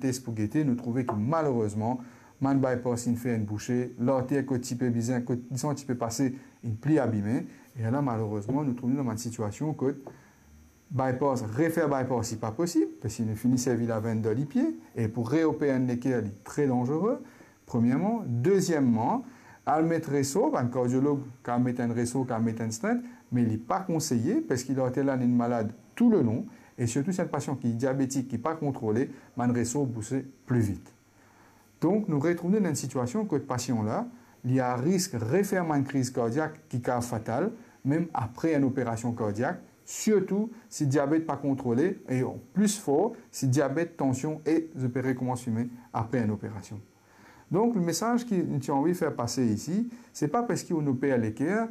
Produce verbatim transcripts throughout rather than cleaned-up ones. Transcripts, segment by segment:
tes pou gete, nou trouve ki malerezman, bann bypass inn fer inn bouse, larter kot ti pe bizin, kot disan ti pe pase, inn pli abime. E la, malerezman, nou trouv nou dan bann sitiasion kot bypass, refer bypass, li pa posib, parski nou fini servi lavenn dan lipie, e pou reoper enn leker, li tre danzere, premierman. Dezieman, al met resor, bann kardiolog kav met enn resor, kav met enn stent, me li pa konseye, parski larter la inn malad toulelon, e sirtou si enn pasian ki diabetik, ki pa kontrole, bann resor bouse pli vit. Donk, nou retrouv nou dan enn sitiasion kot pasian la, li a risk refer bann kriz kardiak ki kav fatal, mem apre enn operasion kardiak, sirtou si diabet pa kontrole, e pli for, si diabet, tansion, e zot pe rekoumans fime apre enn operasion. Donk, mesaz ki nou ti anvi fer pase isi, se pa parski ou'nn oper leker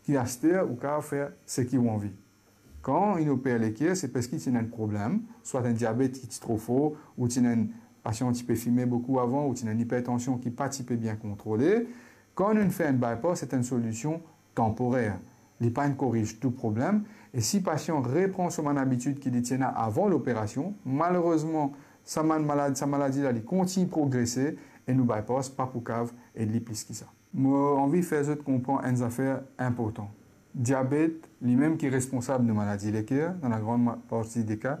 ki aster ou kav fer seki ou anvi. Kan inn oper leker, se parski ti ena enn problem, swa enn diabet ki ti tro for, ou ti ena enn pasian ti pe fime boukou avan, ou ti ena enn ipertansion ki pa ti pe bien kontrole. Kan nou fer enn bypass, se enn solision tanporer. Li pa inn koriz tou problem. E si pasian repran so bann abitid ki li ti ena avan loperasion, malerezman, sa bann malad, sa maladi la, li kontign progrese, e nou bypass pa pou kav ed li plis ki sa. Mo anvi fer zot konpran enn zafer inportan. Diabet, limem ki responsab nou maladi leker, dan lagran ma-, parti de ka,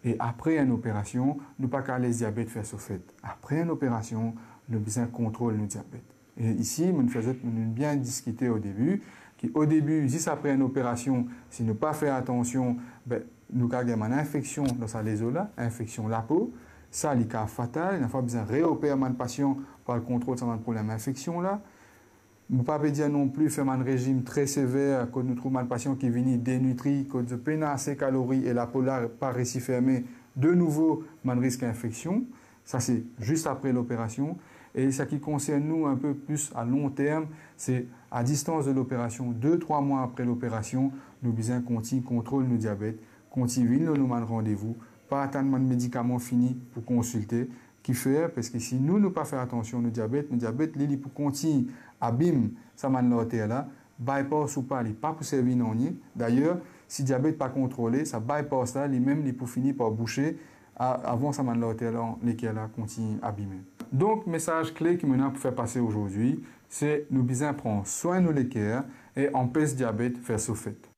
e apre enn operasion, nou pa kav les diabet fer so fet. Apre enn operasion, nou bizin kontrol nou diabet. E isi, mo fer zot, nou bien diskite o debi, ki o debi, zis apre enn operasion, si nou pa fer atansion, be, nou kav gagn bann infeksion dan sa lezo la, infeksion lapo. Sa, li kav fatal, ena fwa bizin reoper bann pasian pou al kontrol sa bann problem infeksion la. Mo pa pe dir non pli fer bann rezim tre sever, kot nou trouv bann pasian ki vini denitri, kot zot pena ase kalori e lapo la pa resi ferme, de nouvo bann risk infeksion. Sa se zis apre loperasion. E sa ki konsern nou inpe plis a long term, se a distans de loperasion, de, trwa mwa apre loperasion, nou bizin kontign kontrol nou diabet, kontign vinn lor nou bann randevou, pa atann bann medikaman fini pou konsilte. Kifer? Parski si nou, nou pa fer atansion nou diabet, nou diabet, li, li pou kontign abim sa bann larter la, bypass ou pa, li pa pou servi nanye. Dayer, si diabet pa kontrole, sa bypass la, limem, li pou fini par bouse a-, avan sa bann larter la, leker la kontign abime. Donk, mesaz kle ki mo ena pou fer pase azordi, se nou bizin pran swin nou leker e anpes diabet fer so fet.